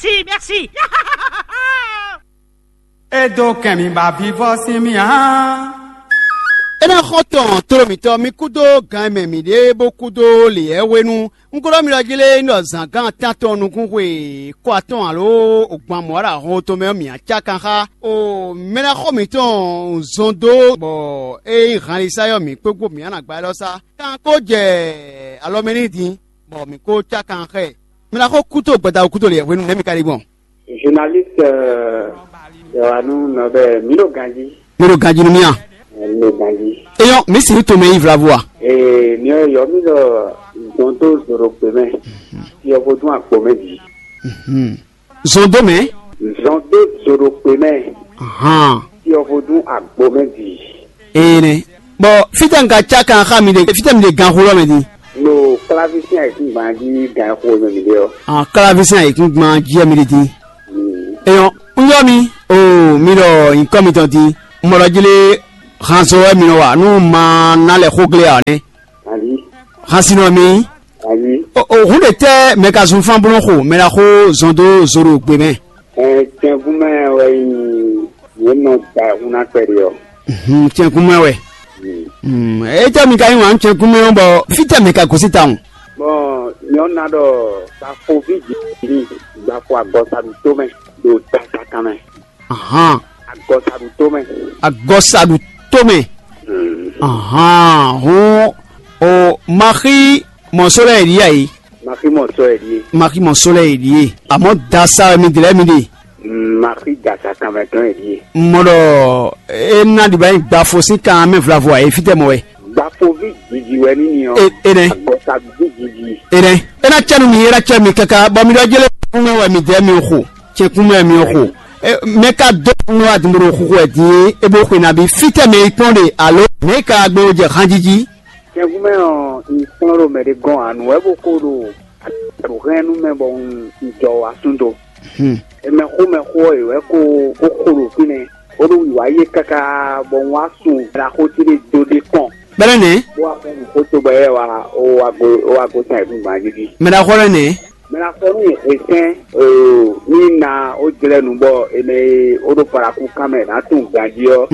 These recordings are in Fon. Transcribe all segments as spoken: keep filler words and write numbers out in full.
Si, merci. É dó kɛn mì ba vivɔ́ sín mì ǎ. É ná xɔ tɔn tló mǐtɔn mì kúdó gan e mɛ mǐ ɖe bó kúdó lě lɛ́ɛ hwenu. Un ko ɖɔ mi ɖɔ jí lé, un ɖɔ zǎngán tántɔn nukún xwe kɔ atɔn alo ogban mɔ̌ ɖo ahɔn tɔn mɛ ɔ́, mǐ á cá kan xá o mɛ ná xɔ mǐtɔn zɔn dó, bɔ é nyí hanlisa ɔ́, mǐ kpégbó mǐ á nǎ gba élɔ́ sá. Kan kó jɛ alɔ mɛ n'i din, bɔ mǐ kó cá kan xá ɛ. Mi ná xo kúto gbada kúto lě hwenu nɛ́ mi ka ɖi gbɔn? Journaliste, euh, Yohanu Nɔbɛ, mi ɖo ganji. Mi ɖo ganji nú mì a? Mi ɖo ganji. Eyɔn, mi si to mɛ yi vlavo a? Ee, mi ɔ yɔ mi ɖɔ zɔn dó zoro kpe mɛ. Yɔ vodún akpo mɛ di. Mhm. Zɔn dó mɛ? Zɔn dó zoro kpe mɛ. Ahan. Yɔ vodún agbo mɛ di. Ee nɛ. Bɔ fítɛ un ka cá kan xá mi ɖe, fítɛ mi ɖe gan xó lɔ mɛ din? Lo klavísín ayǐkúngban jí gan xó mɛ mi ɖe ɔ́. Ah, klavísín ayǐkúngban jí wɛ mi ɖe din. Eyɔn, un yɔ mi, o mi ɖɔ nyǐkɔ mitɔn din. Un mɔ ɖɔ jí lé hanzɔ wɛ mi nɔ wa nú ma ná lɛ xó glé ǎ nɛ́. Àbí? Hansinɔ mi. Àbí? O o hun ɖe tɛ mɛ ka zun fán bló xo mɛ la xó zɔn dó zoro gbe mɛ? Ɛ cɛngún mɛ wɛ yi yě nɔ da hun ná kpɛɖi ɔ. Mhm, cɛngún mɛ wɛ. Mm. Mm, etɛ mi ka yí wǎn cɛngún mɛ ɔ́ bɔ fítɛ mɛ ka gosí tawun? Bɔn nyɔnu ná ɖɔ safoví jǐ gbafo agɔsaɖuto mɛ ɖo tatakan mɛ. Ahan. Agɔsaɖuto mɛ. Agɔsaɖuto mɛ. Mm. Ahan, hɔn o maxi mɔsɔlɛ yɛ ɖi ayi. Maxi mɔsɔlɛ yɛ ɖi. Maxi mɔsɔlɛ yɛ ɖi. Amɔ dasa mi dlɛ mi ɖe. Maxi dasa kanmɛ tɔn yɛ ɖi. Mɔ ɖɔ e na ɖi ba gbafo sín kan mɛ vlavo ayi fitɛ mɔ wɛ. Gbafoví jiji wɛ ní ni ɔ. E- enɛ. Agɔsaɖuɖu jiji. Enɛ. E na cɛ nu mi, e na cɛ mi kaka bɔ mi ɖɔ jele fún mɛ wɛ mi dɛ mi xo. Cɛkún mɛ mi xo. Mɛ ka dó nɔ adumoro xuxu wɛ din e bó xwe na bi fitɛ mɛ yi kpɔn ɖe alo mɛ ka gbe wo jɛ hanjiji. Cɛkún mɛ ɔ n kplɔ́n ɖo mɛ ɖé gɔn anu wɛ bó ko ɖo ɖo hɛn nú mɛ bɔ un jɔ wá sún do. Mɛxó mɛxó ɔ́ yě wɛ ko bó xo ɖo fínɛ́ bó ɖo wǐwá yé káká bɔ un wá sun ɖaxó ce ɖé dó ɖé kɔn. Bɛlɛ nɛ? Bó wá fún nǔxó tobɔ yɛ wá ó wá gosín ayǐkúngban jí jí. Mɛ ɖaxó lɛ́ nɛ? Mɛ ná fɔ nú hwesɛ́n ní na ó jlɛ́ nu bɔ è mɛ e ó ɖo parakú kan mɛ ná tunwun ganjí ɔ́,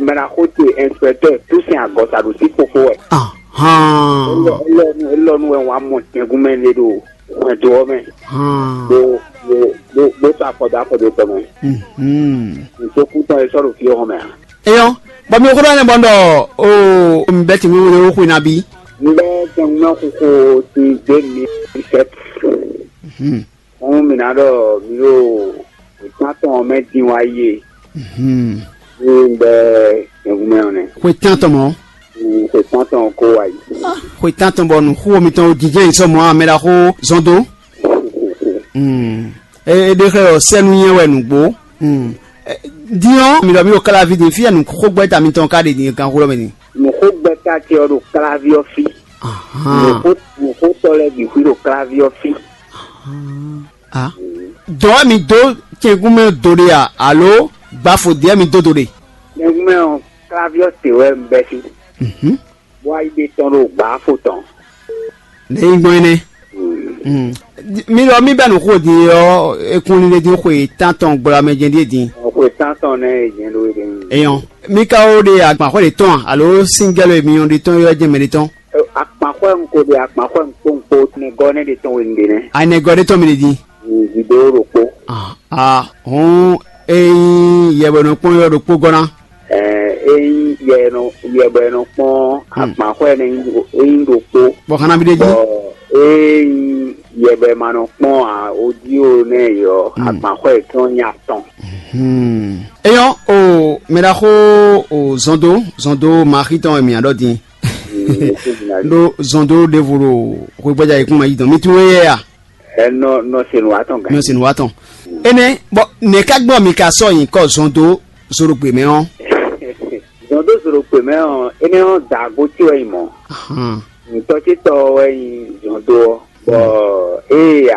mɛ ná xó te inspecteur Toussaint Agɔsaɖu sín fofo wɛ. Ahán. Elɔnu elɔnu wɛ wá mɔ jɛngúnmɛ lé ɖo hwɛndo ɔ́ mɛ. Bó bó bó bó sɔ́ afɔ dó afɔ dó tɔ mɛ. Nǔsókún tɔn e sɔ́ ɖo fí ɔ́ hɔn mɛ ǎ. Eyɔn, bɔ mi xó ɖɔ nɛ bɔ un ɖɔ o un bɛ tin wíwú ɖé xwe ná bí. Un bɛ jɛngbɔn xixo ti dé mi sɛt. Fún mi ná ɖɔ mi ɖo ìtàn tɔn mɛ dín wá yé. Mi bɛ jɛngbɔn mɛ ɔnɛ. Xwe tán tɔn mɔ. Xwe tán tɔn kó wá yìí. Xwe tán tɔn bɔ nǔxó mitɔn jijɛ yi sɔ mɔ amɛ ɖaxó zɔn dó. É ɖe xlɛ́ ɖɔ sɛ́nú nyɛ wɛ nǔgbó. Din ɔ́, mi ɖɔ mi ɖo Kalaví din, fí wɛ nǔxógbɛ́ta mitɔn ka ɖe din ganxó lɔ mɛ din? Nǔxógbɛ́ta ce ɔ́ ɖo Kalaví ɔ́ fí. Nǔxótɔ́ lɛ́ɛ bǐ xwí ɖo Kalaví ɔ́ fí. Dɔ̌ wɛ mi dó cɛngún mɛ do ɖe a, alo gbafo dě wɛ mi dó do ɖe? Cɛngún mɛ ɔ́, Kalaví ɔ́ te wɛ un bɛ́ fí. Bó wá yi ɖe tɔn ɖo gbǎfo tɔn. Nɛ̌ nyí gbɔn énɛ́? Mi ɖɔ mì bɛ́ nǔ xo din ɔ́, é kún lílé dín xwe tántɔn gbla mɛ jɛ́n ɖíe din. Xwe tántɔn nɛ́ è jɛ́n ɖó é ɖe. Eyɔn, mi ka ó ɖe agbanxwɛ ɖě tɔn a, alo síngɛ́lo e mi nyɔ́ ɖe tɔn é wɛ jɛ́n mɛ ɖé tɔn? Akpanxwɛ un ko ɖe akpanxwɛ un kpó un kpó nɛgɔ́ nɛ́ ɖe tɔn we un ɖe nɛ́. Anɛgɔ́ ɖé tɔn mi ɖe din. Gbiɖo ɖokpó. Ah, hɔn ényí yɛbɔnɔkpɔ́n ɔ́ ɖokpó gɔ́ ná. Ényí yɛ bɔ è nɔ kpɔ́n akpanxwɛ énɛ́ é nyí ɖokpó. Bɔ xana mi ɖe jí. Ényí yɛ bɔ è ma nɔ kpɔ́n odi ó nɛ́ yɔ akpanxwɛ yětɔn nyí atɔn. Eyɔn o mɛ ɖaxó o zɔndo zɔndo maxi tɔn mǐ ɖɔ din. Ɖó zɔndo ɖěvo ɖo xwégbɛ́já yěkún ma yí dɔn mi tún wé yɛ a? Ɛ nɔ nɔ se nǔ wa tɔn gán. Nɔ se nǔ wa tɔn. Énɛ́ bɔ nɛ̌ ká gbɔn mi ka sɔ́ nyǐkɔ zɔn dó zoɖogbe mɛ ɔ́? Zɔn dó zoɖogbe mɛ ɔ́, énɛ́ ɔ́ daago ce wɛ nyí mɔ̌. Nǔtɔ́ ce tɔ́ wɛ nyí zɔn dó ɔ́, bɔ ée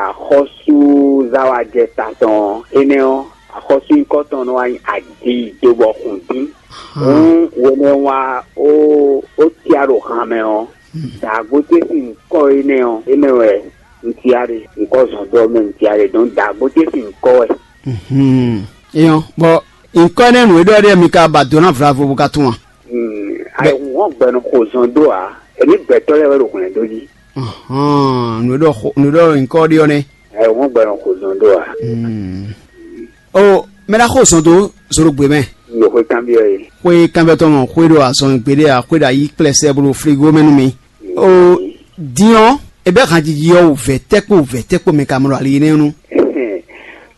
axɔ́súzáwájɛ ta tɔn ɔ́, énɛ́ ɔ́, axɔ́súnyíkɔ tɔn nɔ wá nyí adi dó bɔ xun dín. Hǔn hwenɛ́ wá ó ó cia ɖo han mɛ ɔ́, daago ce sín nyǐkɔ énɛ́ ɔ́, énɛ́ wɛ Un tia ɖe, un kɔ zɔn dɔ mɛ, un tia ɖe, dɔn dagbo ce sin un kɔ wɛ. Hmm. Eyɔn, bɔ nkɔ ne nǔ e ɖɔ ɖe mi ka ba do na vlavo bo ka tún a? Hmm. Ayihun hɔn gbɛnu xo zɔn do a? Èmi gbɛtɔ lɛ wɛ ɖo hwlɛn dó jí. Hɔn nǔ e ɖɔ xo- nǔ e ɖɔ nkɔ ɖe ɔ́ nɛ. Ayihun hɔn gbɛnu xo zɔn do a? Hmm. O mɛ ɖa xo zɔn dó zoro gbe mɛ. Yo xwe kanbyɔ ye. Xwe kanbyɔ tɔn mɔ xwe ɖo azɔn gbeɖe a xwe ɖo ayi kplɛ sɛ bolo frigo mɛ nú mi. O din ɔ́, e bɛ hanjiji ɔ́ wǔvɛ́ tɛ́kpo wǔvɛ́ tɛ́kpo mɛ ka mɔ ɖo ali énɛ́ nu.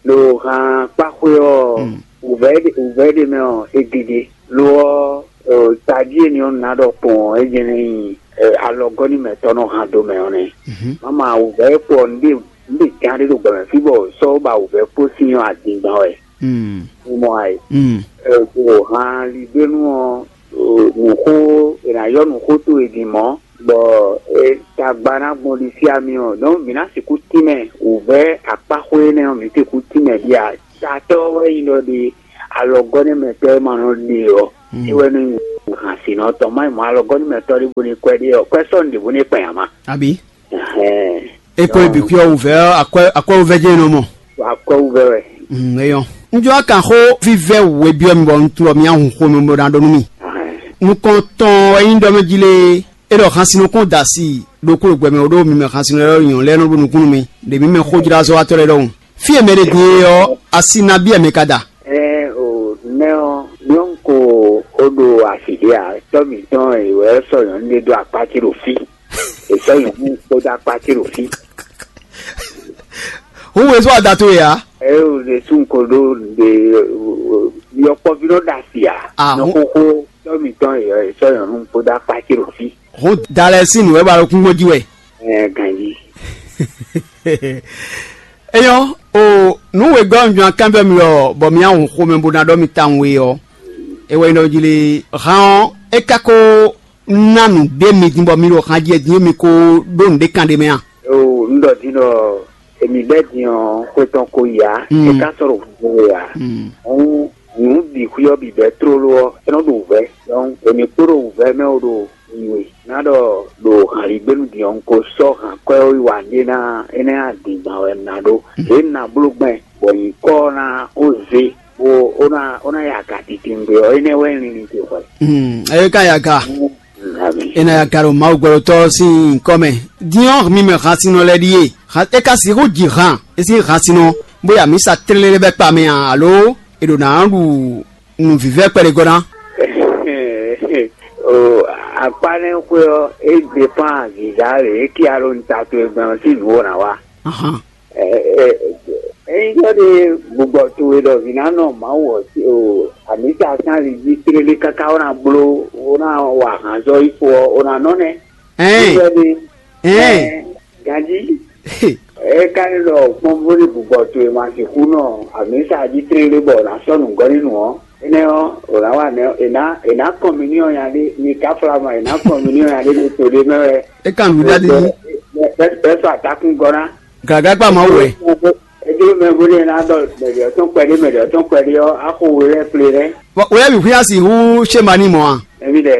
Ɖo han kpáxwé ɔ́, wǔvɛ́ ɖe wǔvɛ́ ɖe mɛ ɔ́, é gege. Lo ɔ́, tají e ni ɔ́ ná ɖɔ kpɔn ɔ́, é jɛ́n ní nyi alɔgɔ́ nú mɛtɔ́ nɔ han do mɛ ɔ́ nɛ́. Mama wǔvɛ́ kpɔ nǔɖé nǔɖé gán ɖé ɖo gbɛ mɛ fí bɔ sɔ́ ba wǔvɛ́ kpó sin ɔ́ adingban wɛ. Mɔ ayǐ. Ɖo han ligbénu ɔ́, nǔxó è nǎ yɔ nǔxó towe din mɔ̌, bɔ tagba ná gbɔn ɖisí ami ɔ́, donc mǐ ná sixú tínmɛ wǔvɛ́ akpáxwé énɛ́ ɔ́, mǐ sixú tínmɛ ɖíe ǎ. Tatɔ́ wɛ nyí ɖɔ ɖe alɔgɔ́ nɛ́ mɛtɔ́ e ma nɔ ɖe ɔ́, é wɛ nɔ nyí hǎnsínɔ tɔn. Má nyí mɔ̌ alɔgɔ́ nɛ́ mɛtɔ́ ɖěvo ní kwɛ́ ɖé ɔ́, kwɛ́ sɔ́ nǔɖěvo ní kpɛn ǎ má. Àbí? Ɛhɛn. É kpɔ́n ibi xwíɔ́ wǔvɛ́ ɔ́, akwɛ́ akwɛ́ wúvɛ́ jɛ́n nɔ mɔ. Akwɛ́ wúvɛ́ wɛ. Mm, é nyɔ́. Un jló ná kan xó vívɛ́ wǔ e byɔ́ mi bɔ un tunwun mi ahun xomɛ bó ná ɖɔ nú mi. Nukɔn tɔn wɛ nyí ɖɔ mɛ jí lé, é ɖɔ hansinɔ kɔn da asi ɖokpó ɖo gbɛ mɛ, ɖó mi mɛ hansinɔ lɛ́ɛ nyɔ̌nu lɛ́ɛ nɔ ɖo nukún nú mi, ɖě mi mɛ xójlázɔ́watɔ́ lɛ́ɛ ɖɔhun. Fí e mɛ ɖě din é ɔ́, asi nabí wɛ mɛ ka da? Ɛn o, nɛ́ ɔ́, nyɔ́nu ko ó ɖo asi ɖě ǎ, tɔ́ mǐtɔn è wɛ sɔ́ nyɔ̌nu ɖé dó akpá ce ɖo fí. È sɔ́ nyɔ̌nu kpódó akpá ce ɖo fí. Hǔn wezú ada towe ǎ. Ée wǔ ɖésú un ko ɖó ɖe yɔkpɔ́ví nɔ ɖo asi ǎ. Ah, nɔ hǔn- xóxó tɔ́ mǐtɔn è sɔ́ nyɔ̌nu kpódó akpá ce ɖo fí. Hǔn da lɛ́ɛ sín nǔ wɛ ba ɖo kúngbó jí wɛ. Ɛɛ ganjí. Eyɔ́, o nǔ wegɔ́ un jɔn kanbyɔ́ mi ɔ́, bɔ mi ahun xomɛ bó ná ɖɔ mi tawun we ɔ́, é wɛ nyí ɖɔ jí lé. Han ɔ́, é ka ko ná nǔɖé mi din bɔ mi ɖo han jí din mi ko ɖó nǔɖé kan ɖé mɛ a? O un ɖɔ din ɖɔ èmi bɛ́ din ɔ́, xwe tɔn ko yi ǎ, Mm. é ka sɔ́ ɖo húzú we ǎ. Mm. Hǔn nǔ bǐ xwí ɔ́ bǐ bɛ́ tlóló ɔ́, é nɔ ɖo wǔvɛ́. Donc èmi kpó ɖo wǔvɛ́ mɛ ó ɖo nyi we. Ná ɖɔ ɖo hanlígbénu din ɔ́, un ko sɔ́ hankwɛ́ ɔ́ yi wa ɖé ná énɛ́ adǐngban wɛ un ná ɖó. Lě un ná bló gbɛn, bɔ nyǐkɔ ɔ́ ná ó zé, bó ó ná ó ná ya aga titewungbe ɔ́, énɛ́ wɛ un linlin ce hwɛ. Hmm, ɛ ka ya ga. Ami. Ena ya ga ɖo Mawu gbɛɖotɔ́ sín nyǐkɔ mɛ. Din ɔ́, mi mɛ hansinɔ lɛ́ɛ ɖíe. Han- É ka sixú ji han, é sín hansinɔ, bó ya mǐ sa tlélé bɛ́ kpa mɛ a, alo è ɖo nǎ ɖu nǔvívɛ́ kpɛɖé gɔ́ ná? O akpá nɛ́ xwé ɔ́, é depán zǐzá lě é ká ɖo un ta towe gbɛn ɔ́ sín nǔ ó ná wa. Ahan. Ényí ɖɔ ɖe gbugbɔ towe ɖɔ vǐ ná nɔ Mawu ɔ́, o amǐsa sín ali jí tlélé káká ó ná bló, ó ná wa hanzɔ́ yi fo ɔ́, ó ná nɔ nɛ́. Ɛn. Ɖɔ ɖe Ɛn. Ganjí. É ka nyí ɖɔ kpɔ́nvú ní gbugbɔ towe ma sixú nɔ amǐsa jí tlélé bɔ ná sɔ́ nǔgɔ́ ní nǔ ɔ́, énɛ́ ɔ́, è nǎ wa nɛ́ è nǎ è nǎ kɔn mǐ ní ɔ́ nya ɖé, mi ka flá ma è nǎ kɔn mǐ ní ɔ́ nya ɖé ɖo to ɖé mɛ wɛ. É ka nǔ ɖaɖi ní. Bɛ́ sɔ́ atakún gɔ́ ná. Gǎgá kpa Mawu wɛ. Edó mɛ bó ɖe ná ɖɔ mɛɖě ɔ́ tɔn kpɛɖé, mɛɖě ɔ́ tɔn kpɛɖé ɔ́, axo we lɛ́ɛ kplé lɛ́ɛ. Wɛ bǐ xwíá sixú ṣé ma ní mɔ a? Ɛmí ɖɛ.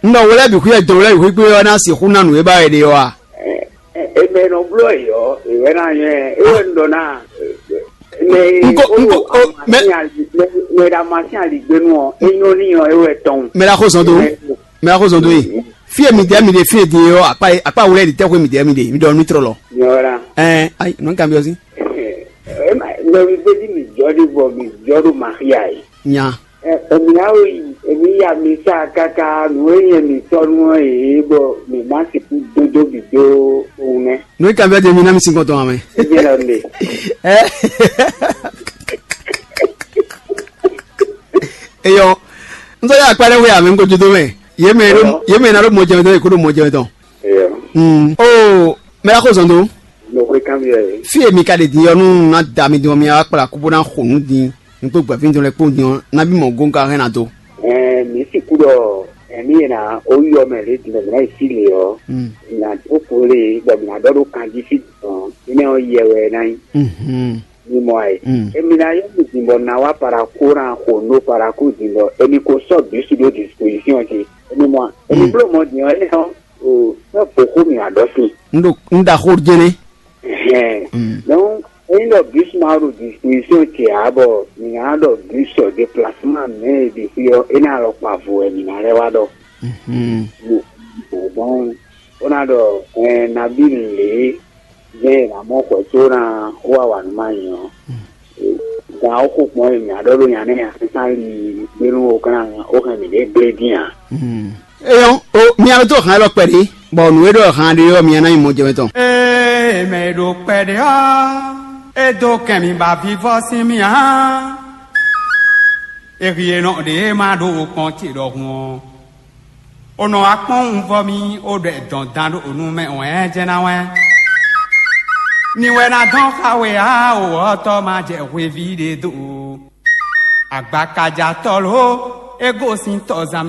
Un ɖɔ we lɛ́ɛ bǐ xwíá dɔn we lɛ́ɛ bǐ xwí gbé ɔ́ ná sixú ná nǔ e ba wɛ ɖe ɔ́ a? Eme nɔ bló yɔ, ìwé ná nyɛ, ewé ń ɖɔ ná. Mɛ Nko- ó nko- ɖo o- mɛ- amasín ali- mɛ- mɛ ɖo amasín aligbénu ɔ́, é nyɔ́ n'i ɔ́, é wɛ tɔn. Mɛ ɖo axɔzɔn dó. Mɛ ɖo axɔzɔn dó e. Fí e mi dɛ mi ɖe fí e din e ɔ́, akpa akpa wlɛ ɖi tɛ́xu e mi dɛ mi ɖe, mi ɖɔ nú trɔ lɔ. Nyɔra. Ɛn, ayi, nɔ kan bi ɔsi. Ema, mɛ mi gbé dí mi jɔ ɖe bɔ mi jɔ ɖo Maria yi. Nya. Ɛ, èmi á wò yi, èmi ya mi sa kaka nǔ e nyɛ mi tɔ́ nú ɔ́ yě bɔ mi má sixú dódó bǐ dó òun nɛ́. Nú kan bɛ de mi ná mi sin kɔntɔn amɛ. Ebi lɔ nde. Ɛ. Eyɔ. Ntɔ ya akpa ɖe wɛ amɛ ŋgɔ jodo mɛ. Ye mɛ ɖo ye mɛ na ɖo mɔ jɛmɛ tɔn ye ko ɖo mɔ jɛmɛ tɔn. Eyɔ. Mm. O mɛ la ko zɔn do. Mo xwe kan bi yɛ. Fi e mi ka ɖe din yɔ nu na da mi din mi wa kpla kubo na xo nu din. N kpó gbɛ̌fín tɔn lɛ́ɛ kpó din ɔ́, nabí mɔ̌ gɔ́n ka hɛn ná dó? Ɛɛ, mǐ sixú ɖɔ ɛmí e ná ó yɔ mɛ lě din bɔ mǐ ná yi sí lě ɔ́, mǐ ná dó kpo lé bɔ mǐ ná ɖɔ ɖó kanjí fí dɔn, énɛ́ ɔ́ yɛ wɛ é ná nyí. Mhm. Mi mɔ ɛ. Mm. Emi ná yɔ mi din bɔ na wá paraku ná xo nú paraku din bɔ emi ko sɔ́ bǐsu ɖó disposition ce. Emi mɔ emi Mm. bló mɔ din ɔ́, énɛ́ ɔ́, o, sɔ́ bǒ xó mǐ wá ɖɔ sín. N ɖo n ɖaxó jɛnɛ. Hɛn. Donc, ényí ɖɔ bus ma ɖo disposition ce ǎ, bɔ mǐ ná ɖɔ bus ɔ déplacement mɛ e ɖe xwé ɔ́, é ná alɔ kpa vo wɛ mǐ ná lɛ́ wá ɖɔ. Bon, bon, ó ná ɖɔ, ɛn, nabí lě jɛ́n è nǎ mɔ xwɛ có ná wá wa nǔ ma nyí ɔ́, gan ó xo kpɔ́n e mǐ á ɖɔ ɖó nya nɛ́ nya sésán li gbénú ó kán ó hɛn mǐ ɖě gblé dín ǎ. Eyɔn, o mia ɖo tó hàn élɔ́ kpɛɖé, bɔ nǔ e ɖɔ hàn ɖé ɔ́ mia ná nyí mɔjɛmɛ tɔn. Ee, mɛ e ɖo kpɛɖé ɔ́, é dó kɛn mi ba vivɔ́ sín mì ǎ. È hie nɔ ɖě e ma ɖo kpɔn ce ɖɔhun ɔ́, o nɔ wá kpɔ́n un vɔ mì, o ɖɔ dɔn dan ɖo nu mɛ wɛn jɛ́n ná wɛn. Ni wɛ ná dɔn xa we ǎ, o ɔ́ tɔ́ ma jɛ hweví ɖé dó. Agbakajatɔ́ ló, é gosín tɔzán mɛ.